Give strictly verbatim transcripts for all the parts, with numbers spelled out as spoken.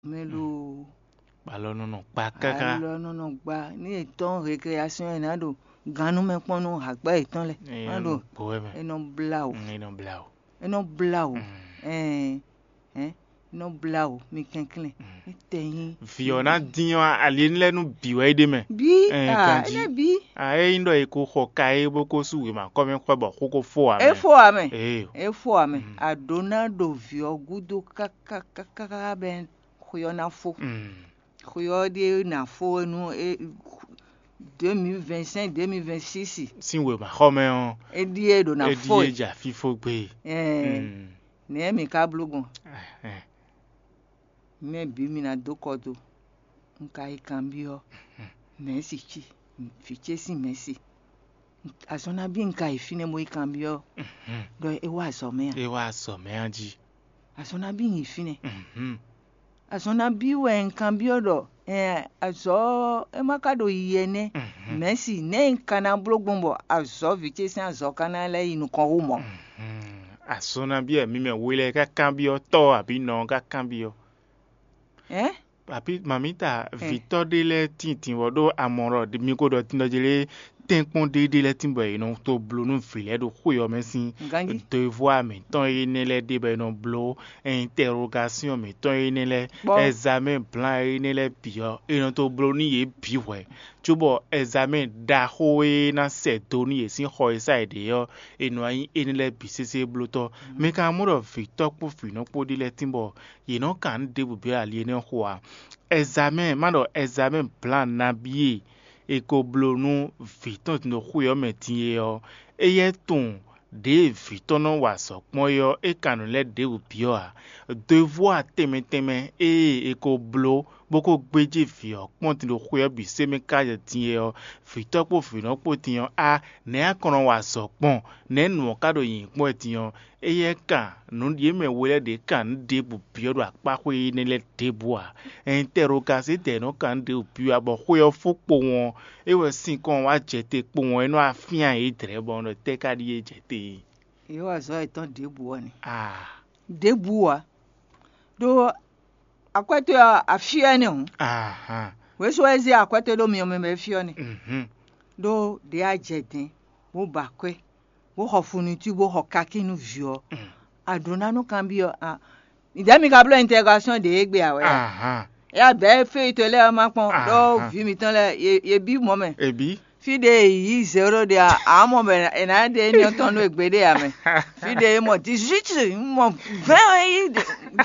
Mɛ lo. Alɔ nɔ nɔ kpa káká. Alɔ nɔ nɔ gba ní è tɔ́n récréation è nǎ ɖo gannú mɛ kpɔ́n nú hǎgbá yětɔn lɛ. Má ɖo gbowɛ mɛ. É nɔ blá wǔ. Mm, é nɔ blá wǔ. É nɔ blá wǔ. Mm. Ɛn, ɛn, é nɔ blá wǔ, mi kɛnklɛ́n. Mm. É tɛ nyí. Vǐ ɔ́ ná dín ɔ́, ali énɛ́ lɛ́ɛ nú bǐ wɛ é ɖe mɛ. Bí Ɛn, a ganjí. Énɛ́ bí. A é nyí ɖɔ è ko xɔ ka é bó ko sú wěma kɔ́ mɛ xwɛ bɔ xó ko fó ǎ É mɛ. Fó ǎ mɛ. Ee. É fó ǎ mɛ. Mm. A ɖǒ ná ɖo vǐ ɔ́ gúdo káká káká bɛn xwe ɔ́ ná fó. Mm. Xwe ɔ́ ɖíe ná fó nú é deux mille vingt-cinq, deux mille vingt-six. Sín wěma xɔ mɛ ɔ́, É ɖíe ɖo ná é fó ɖíe é. Jà fífó gbé. Ɛɛ, Mm. Nɛ̌ mi ka bló gbɔn? Ɛhɛn. Mɛ bǐ mi ná dó kɔ do. Un ka yi kanbyɔ́ mɛ̌si cí, vǐ ce sín mɛ̌si. Azɔn nabí un ka yi fínɛ́ bó yi kanbyɔ́ ɖɔ é wá azɔ̌ mɛ a? É wá azɔ̌ mɛ a jí? Azɔn nabí un yi fínɛ́? Mhm. Azɔn nabí wɛ un kanbyɔ́ ɖɔ ɛn, azɔ̌ é má ka ɖo yiyi ɛnɛ́? Mhm. Mɛ̌si, nɛ̌ un ka ná bló gbɔn bɔ azɔ̌ vǐ ce sín azɔ̌ ka ná lɛ́ yi nukɔn hú mɔ̌? Mhm. Azɔn nabí wɛ mi mɛ we lɛ́ɛ ka kanbyɔ́ tɔ́ abǐ nɔ ɔ́ ka kanbyɔ́? Ɛn? Papi, mamita, vǐtɔ́ ɖé lɛ́ɛ tíin din wɔ ɖó amɔ̌ ɖɔ mi ko ɖɔ din ɖɔ jlé tɛ́nkpɔ́n ɖé ɖé lɛ́ɛ tíin bɔ è nɔ to bló nú vǐ lɛ́ɛ ɖo xwé ɔ́ mɛ sín Ganjí. Devoir mǐtɔn énɛ́ lɛ́ɛ ɖe bɔ è nɔ bló, interrogation mǐtɔn énɛ́ lɛ́ɛ, Kpɔ́. Examen blan énɛ́ lɛ́ɛ bǐ ɔ́, è nɔ to bló nú yě bǐ hwɛ̌, cóbɔ examen ɖaxó e ná sɛ do nú yě sín xɔ e sá yě ɖe ɔ́, è nɔ wá nyí énɛ́ lɛ́ɛ bǐ sésé blótɔ́. Mi ka mɔ ɖɔ vǐtɔ́ kpó vǐnɔ kpó ɖé lɛ́ɛ tíin bɔ yě nɔ kan nǔ ɖěbǔ byɔ́ ali énɛ́ xo ǎ. Ɛzamɛ́ɛ, má ɖɔ ɛzamɛ́ɛ blan nabí e è ko bló nú vǐ tɔn din ɖo xwe ɔ́ mɛ din é ɔ́, éyɛ́ tunwun ɖěe vǐ tɔn nɔ wa azɔ̌ kpɔ́n é ɔ́, é ka nǔ lɛ́ɛ ɖěbǔ byɔ́ ǎ. Devoir tɛnmɛ tɛnmɛ e è ko bló bó ko gbéjé vǐ ɔ́ kpɔ́n din ɖo xwe ɔ́ bǐ sɛ́ mɛ káká din é ɔ́, vǐtɔ́ kpó vǐnɔ kpó din ɔ́, á nɛ̌ a ka nɔ wa azɔ̌ gbɔn? Nɛ̌ nǔ ɔ́ ka ɖo nyǐnyí kpɔ́n wɛ din ɔ́? Éyɛ́ kan nǔ ɖě mɛ we lɛ́ɛ ɖě kan nǔ ɖěbǔ byɔ́ ɖo akpáxwé énɛ́ lɛ́ɛ ɖěbǔ ǎ. Ɛnitɛ́rogasitɛ́ nɔ kan nǔ ɖěbǔ byɔ́ ǎ, bɔ xwé ɔ́ fó kpowun ɔ́, é wɛ sinkɔn wá jɛ te kpowun ɔ́, é nɔ wá fyán yě dlɛ̌ bɔ un ɖɔ tɛ́ ka ɖíe jɛ te é? Yě wa azɔ̌ yětɔn ɖěbǔ ɔ́ nɛ. Aa, Ɖěbǔ ǎ. Ɖó akwɛ́ towe ɔ́, afyɔ́ ɛnɛ́ hǔn. Ahan. Wěsu wɛ zé akwɛ́ towe ɖó myɔ mɛ bɔ é fyɔ́ nɛ́. Mhm. Ɖó ɖě a jɛ dɛ̌n, bó ba akwɛ́, bó xɔ funutí, bó xɔ kakí nú vǐ ɔ́, Mm. A ɖǒ ná nú kanbyɔ́ a? Nǔɖé mi ka bló intɛrogashɔ́n ɖě égbé ǎ wɛ a? Ahan. Éyá bɛ̌ fí to lɛ́ɛ ɔ́ má kpɔ́n ɖó Ahan. Vǐ mitɔn lɛ́ɛ yě- yě bí mɔ̌ mɛ. Ebi. Fí ɖě è yǐ zéro ɖe ǎ, ǎ mɔ bɔ è nǎ ɖe éní ɔ́ tɔn nú ègbé ɖé ǎ mɛ. Fí ɖě è mɔ dix-huit, mɔ vingt ɔ́ yí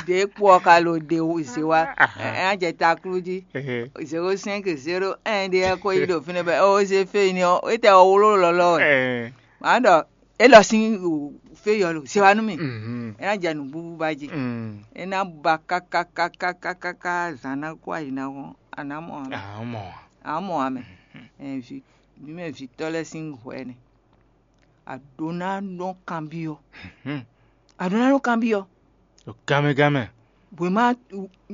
ɖě kpo ɔ́ ka lo ɖe zě wá. Ahan. Ɛ á jɛ taklú jí. Ehe. Zéro cinq zéro un ɖé ɛ ko yí ɖo fínɛ́ bɔ ó zé fé éní ɔ́, é tɛ ɔ́ wló lɔlɔ wɛ. Ɛ. Mǎ ɖɔ é lɔ sín fé yɔ lo zé wá nú mì. Mhm. É ná jɛ nǔbúbú ba jí. Mm. É ná ba káká káká káká ká zǎn ná kó ayi ná hɔn, a nǎ mɔ ǎ mɛ. Ǎ mɔ. A nǎ mɔ ǎ mɛ. Mhm. Ɛ, vi, vǐ mɛ vǐtɔ́ lɛ́ɛ sín hwɛ nɛ. A ɖǒ ná nɔ kanbyɔ́. Mhm. A ɖǒ ná nɔ kanbyɔ́. Ɖo gánmɛ gánmɛ. Wěma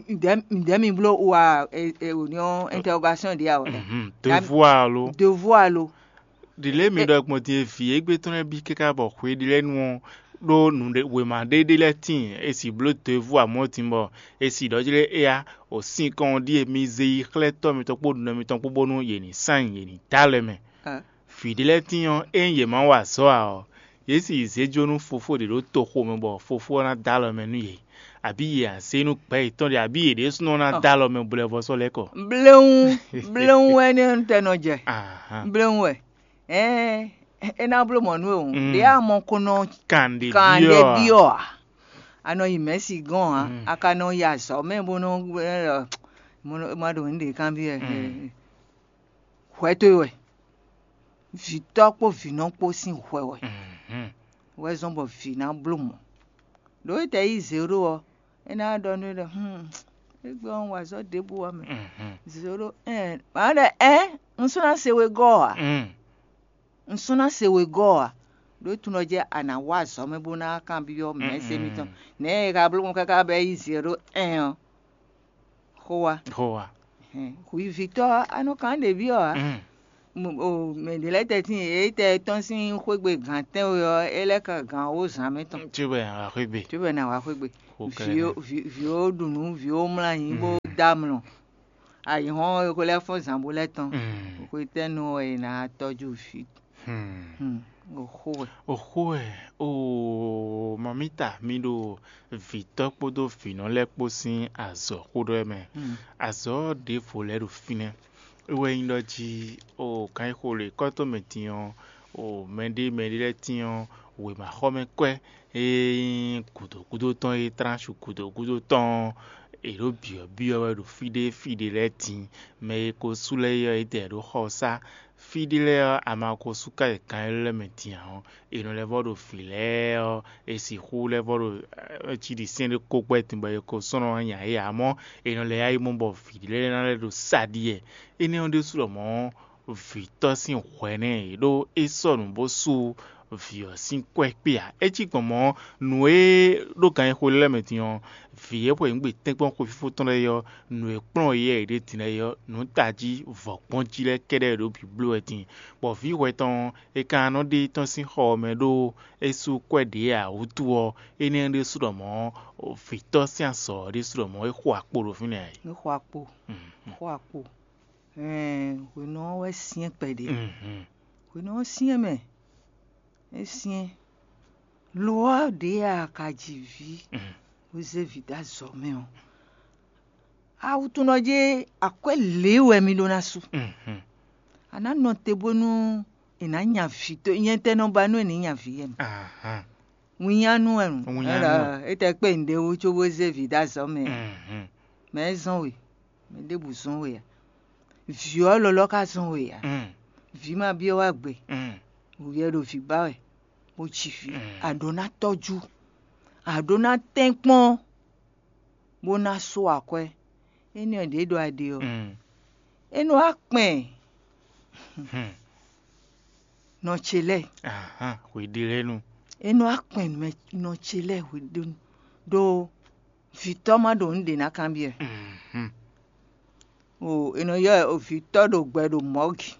ǹdɛ̌ ǹdɛ̌ mi bló wa ɛ ɛ òní ɔ́ interrogation ɖě a wɛ. Mhm. Devoir lo. Devoir lo. Ɖile mi ɖɔ gbɔn din e vǐ égbé tɔn lɛ́ɛ bí káká bɔ hwe ɖi lɛ́ɛ nu ɔ́, ɖó nǔɖé wěma ɖé ɖé lɛ́ɛ tíin, e sì bló devoir mɔ̌ din bɔ e sì ɖɔ jlé éyá, o sín kɔn ɔ́ ɖíe mi zé yi xlɛ́ tɔ́ mitɔn kpó nɔ mitɔn kpó bónú yě ní sán yě ní dó alɔ mɛ. Ɛ. Vǐ ɖé lɛ́ɛ tíin ɔ́, ényí yě ma wa azɔ̌ ǎ ɔ́, yě sì yi zě jó nú fofó ɖě ɖo toxo mɛ bɔ fofó ɔ́ ná dó alɔ mɛ nú yě, abǐ yě ná zé nú gbɛ̌ yětɔn ɖé, abǐ yě ɖésúnɔ ná Ɔ. Dó alɔ mɛ bo lɛ́ vɔ́ sɔ́ lɛ́ kɔ. Bléwún bléwún wɛ nɛ́ tɛ nɔ jɛ. Ahan. Bléwún wɛ. Ɛɛ, é ná bló mɔ̌ nú we hǔn. Mm. Ɖě a mɔ ko nɔ Kan ɖě kan ɖé byɔ́ a? Byɔ́ a? A nɔ yi mɛ̌si gɔ́n ǎ. Mm. A ka nɔ yi azɔ̌ mɛ bó nɔ ma ɖo nǔɖé kanbyɔ́ ɛ. Mm. Hwɛ towe wɛ. Vǐtɔ́ kpó vǐnɔ kpó sín hwɛ wɛ. Mhm. Wɛ zɔ́n bɔ vǐ ná bló mɔ̌. Ɖǒ e tɛ yí zěɖó ɔ́, é ná ɖɔ nú we ɖɔ, hmm, égbé ɔ́, un wa azɔ̌ ɖěbǔ ǎ mɛ. Mhm. Zěɖó ɛn, mǎ ɖɔ ɛn, un sɔ́ ná se wegɔ́ ɔ́ ǎ. Mm. Un sɔ́ ná se wegɔ́ ɔ́ ǎ. Ɖó tunɔ jɛ a nǎ wa azɔ̌ mɛ bó ná kanbyɔ́ mɛ̌si Mm-mm. Mitɔn. Nɛ̌ e ka bló gbɔn káká bɔ é yí zěɖó ɛn ɔ́? Xó wa. Xó wa. Hwivǐtɔ́ ɔ́, a nɔ kan ɖě byɔ́ ǎ. Mm. Mo- o, mɛ ɖě lɛ́ɛ tɛ́ntin e tɛ tɔ́n sín xwégbe gǎn tɛ́nwe ɔ́, é lɛ́ ka gǎn wó zǎn mɛ tɔn. Cóbɔ ná wá xwégbe. Cóbɔ ná wá xwégbe. Vǐ ó ɖu nǔ, vǐ ó mlá nyǐ bó dó amlɔ. Ayǐhɔ́n e xwe lɛ́ɛ fɔ́n zǎn bó lɛ́ tɔn. Xwetɛ́nu wɛ è nǎ tɔ́jú vǐ? Oxó wɛ. Oxó wɛ. Oo, mamita, mi ɖo vǐtɔ́ kpódó vǐnɔ lɛ́ɛ kpó sín azɔ̌ xó ɖɔ wɛ mɛ. Azɔ̌ ɖěvo lɛ́ɛ ɖo fínɛ́. É wɛ nyí ɖɔ jí, o kan e xo le kɔ́ tɔn mɛ din ɔ́, o mɛɖé mɛɖé lɛ́ɛ tín ɔ́, wěmaxɔmɛ kwɛ́ e nyí gǔdo gúdo tɔn e tlánsu gǔdo gúdo tɔn ɔ́, è ɖǒ byɔ̌byɔ́ wɛ ɖo fí ɖé fí ɖé lɛ́ɛ din. Mɛ e ko sú lɛ́ɛ é ɔ́, é dɛ ɖó xɔ sá. Fí ɖé lɛ́ɛ ɔ́, a ma ko sú ká yi kan élɔ́ lɛ́ɛ mɛ din ǎ ɔ́, è nɔ lɛ́ vɔ́ ɖo vǐ lɛ́ɛ ɔ́, è sixú lɛ́ vɔ́ ɖo cí ɖi sɛ́n ɖé kó gbɛ́ din bɔ è ko sɔ́ nɔ nya yě ǎ. Mɔ̌ è nɔ lɛ́ yá yi mɔ bɔ vǐ lɛ́ɛ ná lɛ́ ɖo sa ɖi wɛ. Énɛ́ ɔ́ ɖésú lɔmɔ̌, vǐtɔ́ sín hwɛ nɛ́ è ɖó é sɔ́ nǔ bó sú vǐ ɔ́ sín kwɛ́ kpé ǎ. É cí gbɔn mɔ̌, nǔ e ɖó gan e xo lɛ́ɛ mɛ din ɔ́, vǐ e xwe nǔ gbe tɛ́nkpɔ́n xwefífó tɔn lɛ́ɛ é ɔ́, nǔ e kplɔ́n yɛ è ɖe din lɛ́ɛ é ɔ́, nǔ tají vɔ̌gbɔ́njí lɛ́ɛ kɛ́ɖɛ́ è ɖǒ bǐ bló wɛ din, bɔ vǐ hwɛ tɔn ɔ́, è ka nɔ ɖe tɔn sín xɔ ɔ́ mɛ ɖó é sú kwɛ́ ɖě ǎ wútu ɔ́, énɛ́ ɖésú ɖɔ mɔ̌, vǐtɔ́ sín azɔ̌ ɔ́ ɖésú ɖɔ mɔ̌ é xo akpo ɖo fínɛ́ ǎ é. É xo akpo, xo akpo. Hwenu ɔ́ wɛ syɛ́n kpɛɖé. Hwenu ɔ́ syɛ́n mɛ, é syɛ́n. Lo ɔ́ ɖě a ka ji vǐ bó zé vǐ dó azɔ̌ mɛ ɔ́, awutunɔ jí akwɛ́ lě wɛ mi ɖó ná sú. A nǎ nɔ te bónú è nǎ nya vǐ tó nyɛtɛ́ nɔ ba nú è nǐ nya vǐ yɛ mɛ. Winnyánú wɛ nǔ. Winnyánú wɛ. Étɛ́ kpé nǔɖé wú cóbó zé vǐ dó azɔ̌ mɛ ǎ. Mɛ é zɔ́n we, mɛ ɖěbǔ zɔ́n we ǎ. Vǐ ɔ́ lɔlɔ́ ka zɔ́n we ǎ. Vǐ ma byɔ́ wá gbe. Wǔyɛ ɖo vǐ ba wɛ, bó ji vǐ. A ɖǒ ná tɔ́jú, a ɖǒ ná tɛ́nkpɔ́n, bó ná sú akwɛ́. Énɛ́ ɔ́ ɖě ɖɔ a ɖe ɔ́, é nɔ wá kpɛn nɔ ce lɛ́ɛ. Hweɖelɛ́nu. É nɔ wá kpɛn nɔ ce lɛ́ɛ hweɖelɛ́nu, ɖó vǐtɔ́ ma ɖo nǔ ɖě ná kanbyɔ́ ɛ. O, è nɔ ylɔ́ ɛ vǐtɔ́ ɖo gbɛ ɖo mɔ̌gi.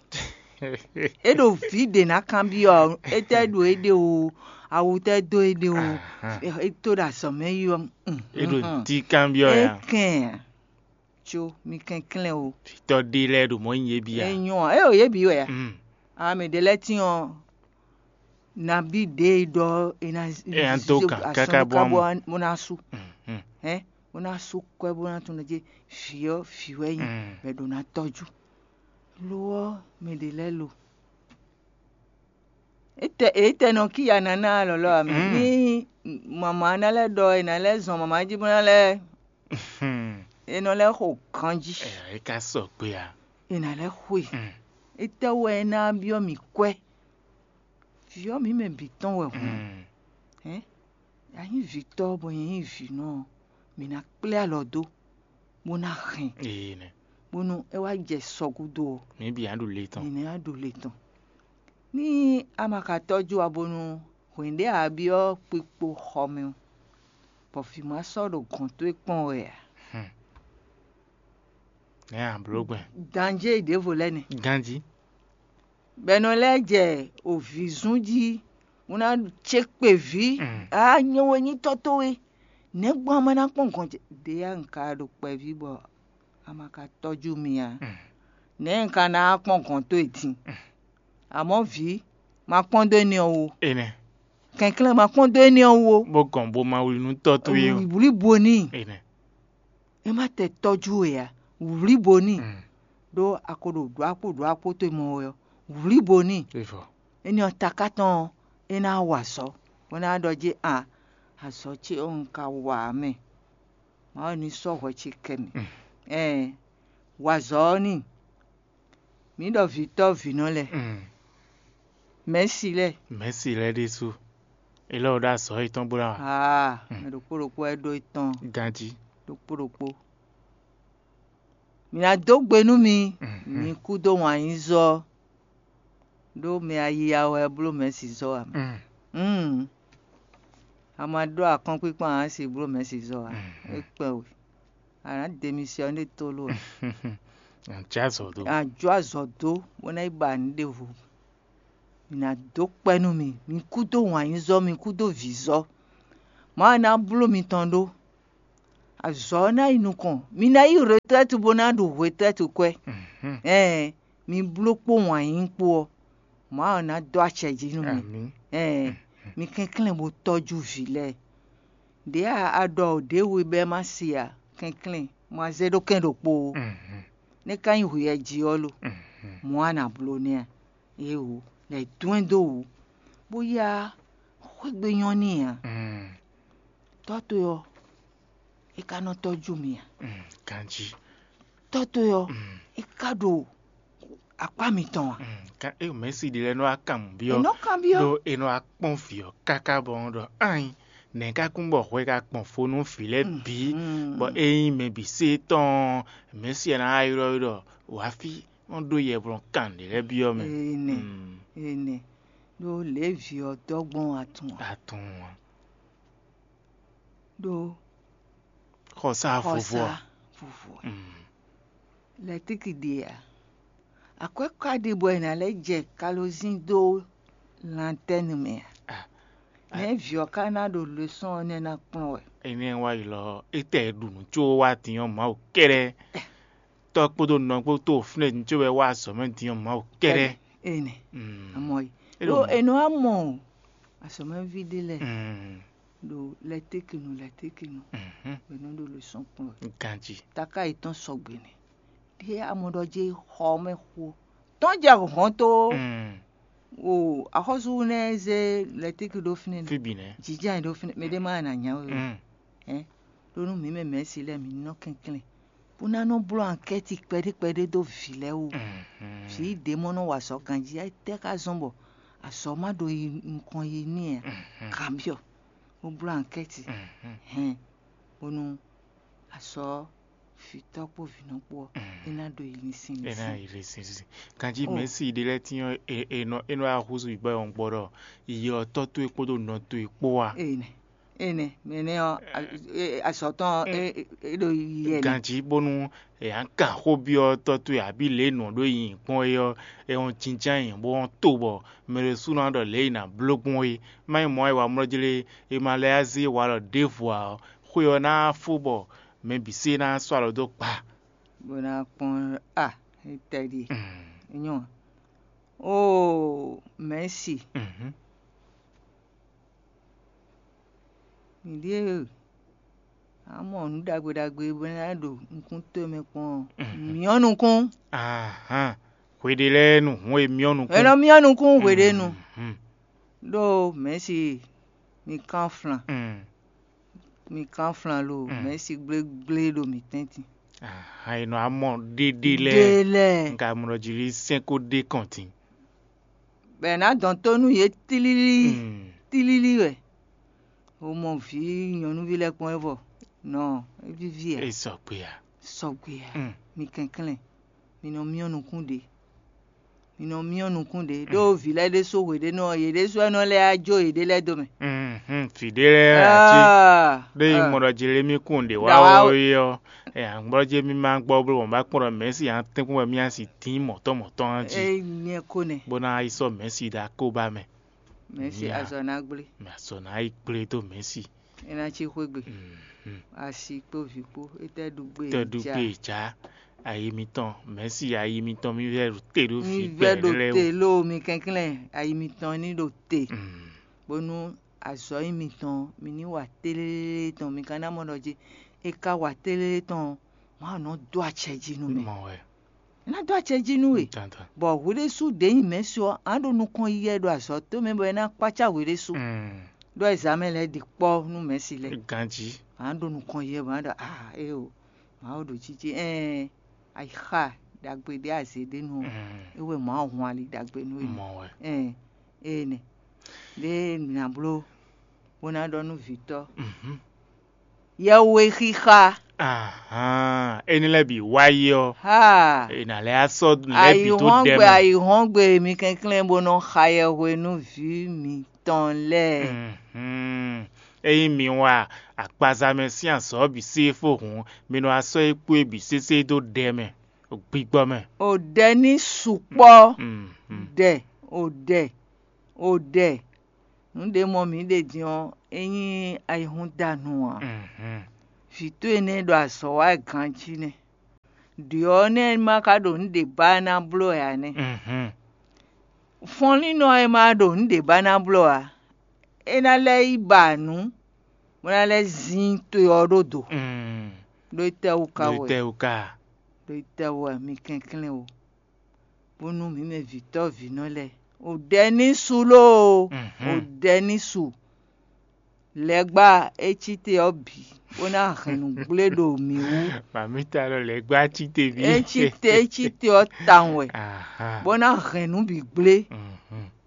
É ɖo vǐ ɖě ná kanbyɔ́ ɔ́, étɛ́ ɖo éɖée o, awu tɛ́ dó éɖée o, é tó ɖo azɔ̌ mɛ yi ɔ́. É ɖo ntí kanbyɔ́ ɛ. É kɛn ǎ. Có mi kɛnklɛ́n o. Vǐtɔ́ ɖé lɛ́ɛ ɖo mɔ̌ nyi yě bǐ ǎ. É nyɔ́ ǎ, é ɖo yě bǐ wɛ ǎ. A mɛ ɖě lɛ́ɛ tín ɔ́, nabí ɖě e ɖɔ è nǎ dó gǎn káká bó ná sú, hɛn, bó ná sú kwɛ́ bó ná tunwun ɖɔ jí vǐ ɔ́ vǐ wɛ nyí, bɔ è ɖǒ ná tɔ́jú. Lo ɔ́, mɛ ɖě lɛ́ɛ lo. Étɛ étɛ nɔ kíya ná ná lɔlɔ́ ǎ mɛ. Ní mama ná lɛ́ ɖɔ è nǎ lɛ́ zɔn mama jí bó ná lɛ́, è nɔ lɛ́ xo ganjí. É ka sɔgbe ǎ. È nǎ lɛ́ xwe. Étɛ́ wɛ é ná byɔ́ mì kwɛ́? Vǐ ɔ́ mǐ mɛ bǐ tɔn wɛ hǔn. Hɛn, a nyí vǐtɔ́ bɔ nyɛ nyí vǐnɔ ɔ́, mǐ ná kplé alɔ dó, bó ná hɛn, bónú é wá jɛ sɔ gúdo ɔ́, mǐ bǐ ná ɖu le tɔn. Mǐ ná ɖu le tɔn. Ní a ma ka tɔ́jú ǎ bónú hwɛ̌n ɖé a byɔ́ kpikpo xɔ mɛ ɔ́, bɔ vǐ ma sɔ́ ɖo gɔ̌n towe kpɔ́n wɛ ǎ. Nɛ̌ a blǒ gbɛn? Danjé ɖěvo lɛ́ɛ nɛ́. Ganjí. Bɔ è nɔ lɛ́ jɛ ovǐzún jí, bó ná cé kpe vǐ, á nyɛ wɛ nyí tɔ́ towe. Nɛ̌ gbɔn a ma ná kpɔ́n gɔ̌n ce? Ɖě a un ka ɖo kpɛví bɔ a ma ka tɔ́jú mì ǎ. Nɛ̌ un ka ná kpɔ́n gɔ̌n towe din? Amɔ̌ vǐ, ma kpɔ́n dó énɛ́ ɔ́ wú ó. Énɛ́. Kɛnklɛ́n ma kpɔ́n dó énɛ́ ɔ́ wú ó. Bó gɔn bo ma wlí nú tɔ́ towe ó. Wlǐ bo n'i. Énɛ́. É má tɛ tɔ́jú we ǎ. Wlǐ bo n'i. Ɖó a ko ɖo ɖǒ akpó ɖǒ akpó towe mɔ wɛ ɔ́, wlǐ bo n'i. Énɛ́ ɔ́ taká tɔn ɔ́, é ná wa azɔ̌, bó ná ɖɔ jí a, azɔ̌ ce ɔ́ un ka wa ǎ mɛ. Mawu ní sɔ́ hwɛ ce kɛ mì. Ɛɛ, wa azɔ̌ ɔ́ n'i. Mǐ ɖɔ vǐtɔ́ vǐnɔ lɛ́ɛ. Mɛ̌si lɛ́ɛ. Mɛ̌si lɛ́ɛ ɖésú. É lɛ́ wɛ ɖó azɔ̌ yětɔn bó ná wa. Aa, mɛ ɖokpó ɖokpó wɛ ɖó étɔn. Ganjí. Ɖokpó ɖokpó. Mǐ ná dó gbe nú mi, mi kú dó wǎn yí zɔ, ɖó mɛ ayiya wɛ bló mɛ̌si zɔ ǎ mɛ. Mm. A ma ɖó akɔ́nkpínkpɔ́n ǎ si bló mɛ̌si zɔ ǎ. É kpɛn we. A nǎ demisiyɔ́ ní tólo ǎ. Jǎ azɔ̌ dó. A jó azɔ̌ dó bó ná yi ba nǔ ɖěvo. Mǐ ná dó kpɛ́ nú mi, mi kú dó wǎn yí zɔ, mi kú dó vǐ zɔ. Mawu ná bló mi tɔn ɖó. Azɔ̌ ɔ́ ná yi nukɔn. Mi ná yi retraite bó ná ɖu retraite kwɛ́. Ɛɛn, mi bló kpó wǎn yíyí kpó ɔ́, Mawu ná dó acɛ jí nú mi. Ɛɛn, mi kɛnklɛ́n bó tɔ́jú vǐ lɛ́ɛ. Đěe a ɖɔ ɖěwe bɛ́ má se ǎ, kɛnklɛ́n ma zé ɖó kɛ́n ɖokpó ó. Nɛ́ ka nyí hweyɛ́ jí ɔ́ lo? Mɔ̌ a nǎ bló nɛ́ a? Éeǒ, lɛ̌ dɔn ɛ dó wǔ, bó yá xwé gbe nyɔ́ n'i ǎ. Tɔ́ towe ɔ́, é ka nɔ tɔ́jú mì ǎ. Ganjí. Tɔ́ towe ɔ́, é ka ɖo akpá mitɔn ǎ. Kan é mɛ̌si ɖé lɛ́ɛ nɔ wá kan mǔ byɔ́. È nɔ kanbyɔ́. Ɖó è nɔ wá kpɔ́n vǐ ɔ́ káká bɔ ɔ́ ɖɔ ányi, nɛ̌ ka kún bɔ hwɛ ka kpɔn fo nú vǐ lɛ́ɛ bǐ, bɔ é nyí mɛ bǐ sé tɔn ɔ́, mɛ̌si ɔ́ ná wá ylɔ́ we ɖɔ wǎ fí, wọ́n ɖó yɛblɔ́ kan ɖě lɛ́ɛ byɔ́ mɛ. Énɛ́, énɛ́, ɖó lě e vǐ ɔ́ dɔ́ gbɔn atun ǎ. Atun ǎ. Ɖó xɔsa vovo xɔsa ǎ. Vovo ǎ. Lɛ̌tíki ɖe ǎ. Akwɛ́ ka ɖe bɔ è nǎ lɛ́ jɛ kalozín dó lantɛ́nu mɛ ǎ. Nɛ̌ vǐ ɔ́ ka ná ɖo lesɔ́n ɔ́ nɛ́ ná kplɔ́n wɛ? Énɛ́ wá yi lɔ, étɛ́ e ɖu nǔ có wá din ɔ́ Mawu kɛ́ɖɛ́. Tɔ́ kpódó nɔ kpó tó fínɛ́ din có wɛ wá azɔ̌ mɛ din ɔ́ Mawu kɛ́ɖɛ́. Énɛ́. Amɔ yi. É Ɖó ɖo è nɔ wá mɔ azɔ̌mɛví ɖé lɛ́ɛ ɖo lɛ̌tékinu lɛ̌tékinu bɔ è nɔ ɖo lesɔ́n kplɔ́n wɛ. Ganjí. Taká yětɔn sɔgbe nɛ́. Ɖé amɔ ɖɔ jɛ xɔ mɛ xo tɔn jɛ hɔn tó. O axɔ́sú nɛ́ zé lɛ̌téki ɖó fínɛ́ nɛ́. Fí bǐ nɛ́. Jǐjá nyi ɖó fínɛ́, mɛ ɖé má ná nyá we o. Hɛn. Ɖó nú mǐ mɛ mɛ̌si lɛ́ɛ mǐ ní nɔ kɛnklɛ́n bó ná nɔ bló ankɛ́ti kpɛɖé kpɛɖé dó vǐ lɛ́ɛ wú. Vǐ ɖě mɔ nɔ wa azɔ̌ ganjí, étɛ́ ka zɔ́n bɔ azɔ̌ ma ɖo yi nukɔn yi n'i ǎ? Kanbyɔ́, bó bló ankɛ́ti hɛn bónú azɔ̌ vǐtɔ́ kpó vǐnɔ kpó ɔ́, é ná ɖo yi linsin. É ná linsin. Yi linsin. Ganjí mɛ̌si ɖé lɛ́ɛ tín ɔ́, è nɔ é nɔ wá húzú yi bɔ é wɔn gbɔ ɖɔ yi ɔ́ tɔ́ towe kpódó nɔ towe kpó wá. Énɛ́, énɛ́, mɛ énɛ́ ɔ́, azɔ̌ tɔn ɔ́, é ɖo yiyi wɛ nɛ́. Ganjí bónú è nǎ kan xó byɔ́ tɔ́ towe abǐ lě e nǔ ɔ́ ɖó nyi gbɔn é ɔ́, è wɔn jínjɔ́n ayǐ bó wɔn to bɔ mɛ ɖésúnɔ ɔ́ ɖɔ lě e è nǎ bló gbɔn é. Má nyí mɔ̌ wɛ è wa mlɔ́ jlé, è ma lɛ́ yá zé walɔ ɖěvo ǎ ɔ́, xwe ɔ́ ná fó bɔ mɛ bǐ sé ná sɔ́ alɔ dó gba. Bó ná kpɔ́n a, étɛ́ ɖíe. Nyɔ́. Oo, mɛ̌si. Mǐ ɖíe a mɔ nǔ ɖagbe ɖagbe bɔ é ná ɖo nukún towe mɛ kpɔ́n ɔ́, myɔ́ nukún. Ahán, hweɖé lɛ́ɛ nu hǔn e myɔ́ nukún. È nɔ myɔ́ nukún hweɖénu. Ɖó mɛ̌si mi kán flan. Mi kán flan lo, mɛ̌si gblégblé ɖo mǐ tɛ́ntin. Ahán, è nɔ amɔ ɖéɖé lɛ́ɛ. Ɖé lɛ́ɛ. Un ka mɔ ɖɔ jí lí sɛ́n kó ɖé kɔn din. Bɔ è nǎ dɔn tó nú yě tlílí, tlílí wɛ. Wo mɔ vǐ nyɔ̌nuví lɛ́ɛ kpɔ́n wɛ vɔ, nɔ é víví ǎ. É sɔgbe ǎ. Sɔgbe ǎ. Mi kɛnklɛ́n, mi nɔ myɔ́ nukún ɖě. Mi nɔ myɔ́ nukún ɖě, ɖó vǐ lɛ́ɛ ɖésú hweɖénu ɔ́, yě ɖésú wɛ nɔ lɛ́ wá jó yěɖée lɛ́ɛ dó mɛ. Vǐ ɖé lɛ́ɛ ǎ cí. Ɖé yi mɔ ɖɔ Jelemíi kún ɖě wá ɔ́ é ɔ́, ɛ agbɔ́jɛ́ mì ma gbɔ bló mɔ̌ bá kpɔ́n ɖɔ mɛ̌si atɛ́nkpɔ́n wɛ mì asi dín mɔ̌tɔn mɔ̌tɔn ɔ́ jí, Énɛ́ ko nɛ́. Bó ná yi sɔ́ mɛ̌si ɖo akóbá mɛ. Mɛ̌si azɔ̌ ná gblé. Mɛ azɔ̌ ná yi gblé dó mɛ̌si. É ná cí xwé gbe. Asi kpó vǐ kpó, étɛ́ ɖu gbé Tɛ́ ɖu gbé ja. Jǎ ayi mitɔn, mɛ̌si ayi mitɔn mì vɛ́ ɖo te ɖó Mi vǐ vɛ́ ɖo gbɛ̌ lɛ́ɛ te wú. Lóo mi kɛnklɛ́n ayi mitɔn ní ɖo te. Bónú azɔ̌ nyi mitɔn, mi ní wa tlélé tɔn, mi ka ná mɔ ɖɔ jí é ka wa tlélé tɔn ɔ́, Mawu nɔ dó acɛ jí nú mɛ. Mɔ wɛ. É ná dó acɛ jí nú we. Dandan. Bɔ hwe ɖésú ɖě nyi mɛ̌si ɔ́, a nǎ ɖo nukɔn yiyi wɛ ɖo azɔ̌ towe mɛ bɔ é ná kpácá hwe ɖésú. Ɖó ɛzǎmɛ lɛ́ɛ ɖi kpɔ́ nú mɛ̌si lɛ́ɛ. Ganjí. A nǎ ɖo nukɔn yiyi wɛ bɔ a nǎ ɖɔ aa éeǒ, Mawu ɖo jijɛ ɛɛn ayixa ɖagbe ɖé azě ɖé nu ɔ́, é wɛ Mawu hun ali ɖagbe nú we. Mɔ wɛ. Ɛɛn, énɛ́. Ɖěe mǐ ná bló bó ná ɖɔ nú vǐtɔ́. Yɛhwexixa. Ahán, énɛ́ lɛ́ɛ bǐ wá yi ɔ́, Ha! È nǎ lɛ́ á sɔ́ nǔ lɛ́ɛ bǐ dó ɖɛ mɛ. Ayǐhɔ́ngbe, ayǐhɔ́ngbe mi kɛnklɛ́n bó nɔ xa yɛhwe nú vǐ mitɔn lɛ́ɛ. Ényí mi wa akpaza mɛ sín azɔ̌ bǐ sí fó hǔn, mi nɔ wá sɔ́ é kpó é bǐ sésé dó ɖɛ mɛ, gbigbɔ mɛ. O ɖɛ ní sukpɔ́. Ɖɛ, o ɖɛ, o ɖɛ. Nǔ ɖě mɔ mǐ ɖe din ɔ́, é nyí ayihúndanu ǎ. Vǐ towe nɛ́ ɖo azɔ̌ wa wɛ ganjí nɛ́. Ɖě ɔ́, nɛ́ é ma ka ɖo nǔ ɖě ba ná bló wɛ ǎ nɛ́. Fɔnlínnɔ e ma ɖo nǔ ɖě ba ná bló ǎ, é ná lɛ́ yi ba nǔ, bó ná lɛ́ zín to ɔ́ ɖó do. Ɖó étɛ́wú ka wɛ? Ɖó étɛ́wú ka? Ɖó étɛ́wú wɛ? Mi kɛnklɛ́n o, bónú mǐ mɛ vǐtɔ́ vǐnɔ lɛ́ɛ, o ɖɛ ní su lóo, o ɖɛ ní su. Lɛ̌gbá é cí te ɔ́ bǐ, bó ná hɛn nǔ gblé ɖo mǐ wú. Màmíta ɖɔ lɛ̌gbá cí te bǐ. É cí te, é cí te ɔ́ tawun wɛ, bó ná hɛn nǔ bǐ gblé.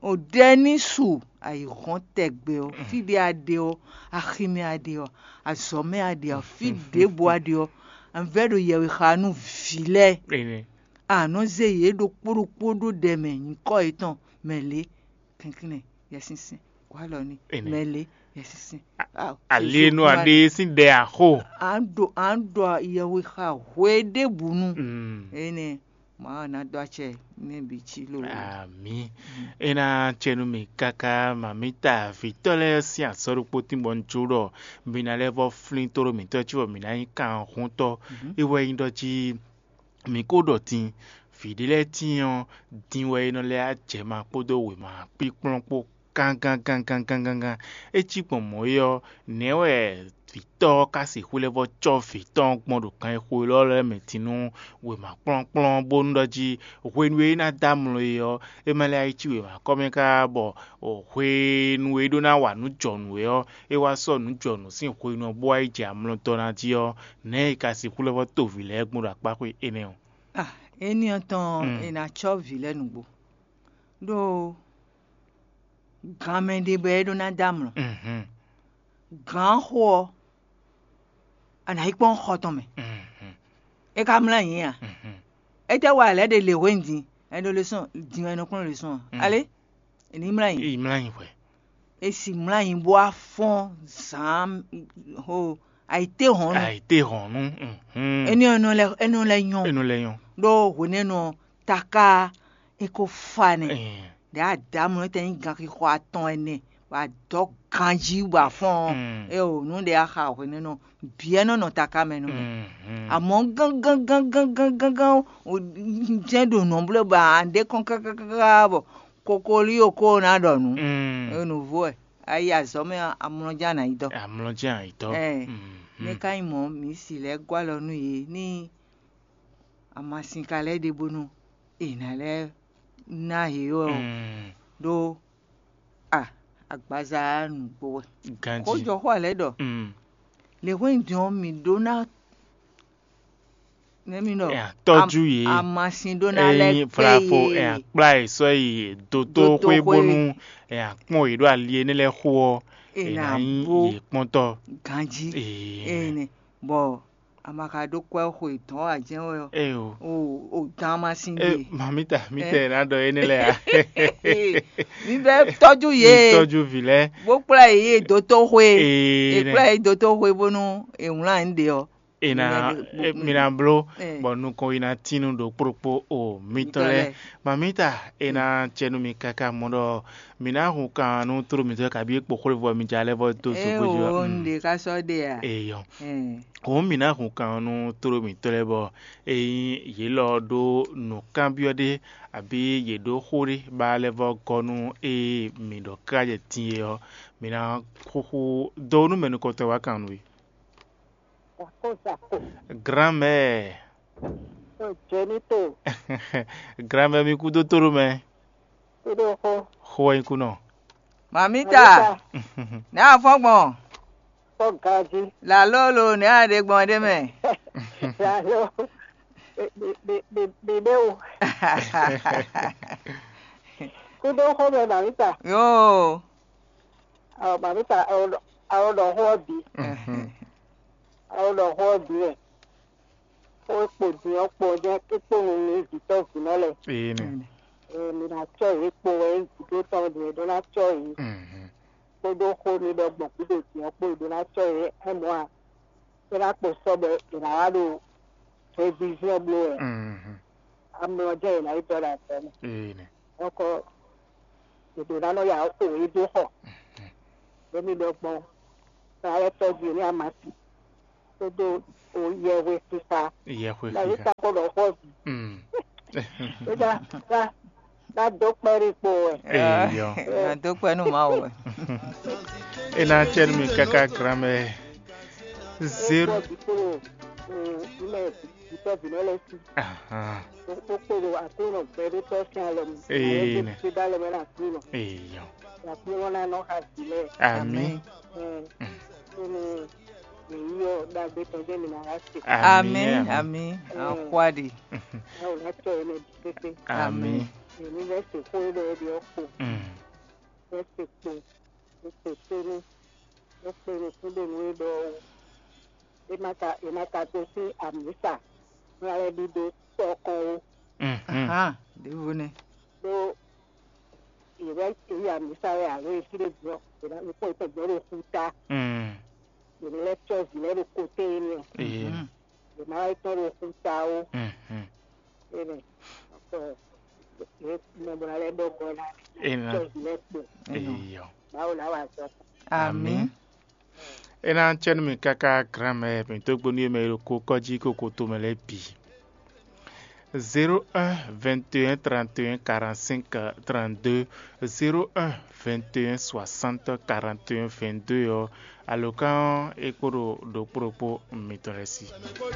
O ɖɛ ní su ayǐhɔ́n tɛgbɛ ɔ́, fí ɖé a ɖe ɔ́, axi mɛ a ɖe ɔ́, azɔ̌ mɛ a ɖe ɔ́, fí ɖěbǔ a ɖe ɔ́, a vɛ́ ɖo yɛwexanú vǐ lɛ́ɛ. A nɔ zé yě ɖokpó ɖokpó ɖó ɖɛ mɛ nyǐkɔ yětɔn mɛ lě. Kɛnklɛ́n Yɛsinsɛn, wǎ lɔ ní mɛ lě. Yɛsinsɛn. Ali e nɔ aɖe sín ɖɛ axo. A ɖo a ɖɔ yɛwe xa hwe ɖěbǔnu. Énɛ́ Mawu ná dó acɛ nɛ́ bǐ cí lólo. Amǐ. É ná cɛ nú mì káká, màmíta vǐtɔ́ lɛ́ɛ sín azɔ̌ ɖokpó tín bɔ un jó ɖɔ mi ná lɛ́ vɔ́ flín tóɖó mǐtɔn cí bɔ mǐ ná nyí kanhúntɔ́. É wɛ nyí ɖɔ jí mi ko ɖɔ din, vǐ ɖé lɛ́ɛ tíin ɔ́, din wɛ é nɔ lɛ́ jɛ ma kpódó wěma kpíkplɔ́n kpó gángán gángán gángán. É cí gbɔn mɔ̌ é ɔ́, nɛ̌ wɛ vǐtɔ́ ɔ́ ka sixú lɛ́ vɔ́ cɔ́ vǐtɔ́ ɔ́ gbɔn ɖo gan e xo élɔ́ lɛ́ɛ mɛ din nú wěma kplɔ́nkplɔ́n bónú ɖɔ jí hwenu e é ná dó amlɔ é ɔ́, é ma lɛ́ cí wěma kɔ́ mɛ káká bɔ hwenu e é ɖó ná wa nǔ jɔ nǔ é ɔ́, é wá sɔ́ nǔ jɔ nǔ sín hwenu ɔ́ bó wá yi jɛ amlɔ dɔ́ ná jí ɔ́, nɛ̌ è ka sixú lɛ́ vɔ́ to vǐ lɛ́ɛ gbɔn ɖo akpá xwe énɛ́ ɔ́? Ah, éní ɔ́ tɔn è nǎ cɔ́ vǐ lɛ́ɛ nǔgbó, ɖó ganmɛ ɖé bɔ é ɖó ná dó amlɔ. Gǎn xo ɔ́, a nǎ yi kpɔ́n xɔ tɔn mɛ. É ka mlɔ́ ayǐ a? Étɛ́ wa lɛ̌ ɖe lě hwenu din? Ɛ ɖo lě sɔn din wɛ è nɔ kplɔ́n lě sɔn a? Alé, è ní mlɔ́ ayǐ. Yi mlɔ́ anyi hwɛ. E si mlɔ́ anyi bó wá fɔ́n zǎn ho ayǐtéhɔ̌nnu. Ayǐtéhɔ̌nnu. Énɛ́ ɔ́ nɔ lɛ́ é nɔ lɛ́ nyɔ́. É nɔ lɛ́ nyɔ́. Ɖó hwenɛ́nu ɔ́, taká é ko fa nɛ́. Ɖě a dǎ mlɔ́ tɛn nyí ganxixo atɔn ɛnɛ, bɔ a dɔ̌ ganjí bɔ a fɔ́n ɔ́, é o nǔ ɖé a xa hwenɛ́nu ɔ́, bǐ ɛ nɔ nɔ taká mɛ nú mì. Amɔ̌ gángángángángán jɛ́n ɖo nǔ bló bɔ a ɖe kɔn kákákáká bɔ kokolíyo ko ná ɖɔ nǔ. É nǔ vo wɛ, a yi azɔ̌ mɛ ɔ́, amlɔ jɛ́n a nǎ yi dɔ́. Amlɔ jɛ́n a nǎ yi dɔ́. Nɛ́ ka nyí mɔ̌, mǐ si lɛ́ gɔ́ alɔ nú yě ní amasin ka lɛ́ ɖe bónú è nǎ lɛ́ ná yě ɔ́ ɖó a agbaza nǔgbó wɛ. Ganjí. Xójɔxó ɔ́ lɛ́ ɖɔ lě hwenu din ɔ́, mǐ ɖó ná nɛ́ mì ɖɔ ɛ tɔ́jú yě. Amasin ɖó ná lɛ́ kpé yě. Ɛ kplá yě sɔ́ yi dotóxwé bónú ɛ kpɔ́n yě ɖo ali énɛ́ lɛ́ɛ xo ɔ́, è nǎ nyí yě kpɔ́ntɔ́. Ganjí. Ee. Bɔ a ma ka ɖó kwɛ́ xwe dɔ̌n ǎ jɛ́n wɛ ɔ́. Ee o. O o dán amasin ɖe. Mamita, mítɛ ná ɖɔ énɛ́ lɛ́ɛ ǎ. Mi bɛ tɔ́jú yě. Tɔ́jú vǐ lɛ́ɛ. Bó kplá yě yi dotóxwé. Ee. È kplá yě yi dotóxwé bónú è wlán yě ɖe ɔ́. È nǎ mi ná bló bɔ nukɔn yi ná tín nú ɖokpóɖokpó o mitɔn lɛ́ɛ. Mamita, è nǎ cɛ nú mi káká mɔ ɖɔ mǐ ná hun kan nú tló mǐtɔn lɛ́ɛ kabi é kpo xwlévɔ mi ja lɛ́ɛ vɔ dó zogbéjɔ. Ee o, un ɖe ká sɔ́ ɖe a? Eyɔ. Hǔn mǐ ná hun kan nú tló mǐtɔn lɛ́ɛ bɔ ényí yě lɔ ɖó nǔkanbyɔ́ ɖé abǐ yě ɖó xó ɖé ba lɛ́ɛ vɔ gɔ́ nú ée mǐ ɖɔ káká jɛ din é ɔ́, mǐ ná xúxú dó nú mɛ nukɔntɔn wá kan nú we. Zako zako. Grand-mère. O Jenito. Grand-mère mi kú dó tóɖó mɛ. Kúɖó xó. Xó wɛ nyí kú nɔ. Mamita. Mamita. Nɛ afɔ gbɔn. Kpɔ ganji. Lalolo nɛ aɖe gbɔn ɖe mɛ. Lalo. Bebe o. Kúɖó xó mɛ Mamita. Yo. Ɔ Mamita, ɔ ɖɔ xó ɔ́ bǐ. Ɔ ɖɔ xó ɔ́ bǐ wɛ. Xó e kpo din ɔ́ kpo ɔ́ jɛ́n é kpo nu nú vǐtɔ́ vǐnɔ lɛ́ɛ. Ee nɛ. Ee, mi ná cɔ́ yě kpo wɛ é vǐ ɖé tɔn ɖě ɖó ná cɔ́ yě. Mhm. Kpódó xó mi ɖɔ gbɔn gǔdo din ɔ́ kpo ɖó ná cɔ́ yě. É mɔ̌ a? É ná kpo sɔ́ bɔ è nǎ wá ɖo hwevíví ɔ́ bló wɛ. Mhm. Amlɔ jɛ́n è nǎ yi dɔ́ ɖo azɔ̌ mɛ. Ee nɛ. Ɔkɔ è ɖǒ ná nɔ ya xo yě dó xɔ. Mhm. Ɖó mi ɖɔ gbɔn ná lɛ́ tɔ́jú yě ní amasi. kpódó yɛhwe xixa. Yɛhwe Lɛ́ xixa. ta kó ɖɔ xɔ́vi. Mm. Ná ná ná dó kpɛ́ ɖi kpo wɛ. Eyɔ. Nado kpɛ nú Mawu wɛ. E ná cɛ nú mi káká granmɛ. Zéro. Kpɔ́ bí kpódó ilé ìtọ́jú náà lọ sí. Ahan. Kpókpódó àkúrò gbɛdótọ́ sí alɔ mi. Ee, Àwọn nɛ. tó dá lọ mẹ́rin àkúrò. Eyɔ. Àkúrò náà nọ ha sílẹ̀. Ami. Àmín. Nínú èyí ọ̀ dàgbé tán jẹ́ mi náà wá sí. Àmín. Àmín. Àkúàdì. Báwo ná tọ́ ẹ lọ pépé? Ami. Èmi fẹ́ sèkó lọ ẹbí ọkọ̀. Mm. Fẹ́ sèkó. Ó pè tónú. Ó pè ní kúndé nú é ɖɔ ó. É má ka é má ka tó sí àmísà. Ní alẹ́ bí dó tɔkàn ó. Mhm. Hàn. Ɖěvo nɛ. Ɖó yě vɛ yě yi amǐsa wɛ alo yě sí ɖé gbɔ yě ná nukpɔ́n yě tɔn gbɔ ɖo xúta. Mm. Yě ní lɛ́ cɔ́ vǐ lɛ́ɛ ɖo koté énɛ́. Ee. Yě má wá yi tɔ́n ɖo xúta ó. Mhm. Énɛ́. Yě mɔ bó ná lɛ́ ɖɔ gbɔ ná Énɛ́. Cɔ́ vǐ lɛ́ɛ kpo. Eyɔ. Báwo ná wà zɔ? Àmín. E ná cɛ nú mi káká granmɛ mi dó gbe nú yě mɛ e ɖo ko kɔ́jí ko koto mɛ lɛ́ɛ bǐ. Zéro un vingt et un trente et un quarante-cinq trente-deux, zéro un vingt et un soixante quarante et un vingt-deux ɔ́, alǒkan ɔ́ é kpo ɖo ɖokpó ɖokpó mitɔn lɛ́ɛ sí.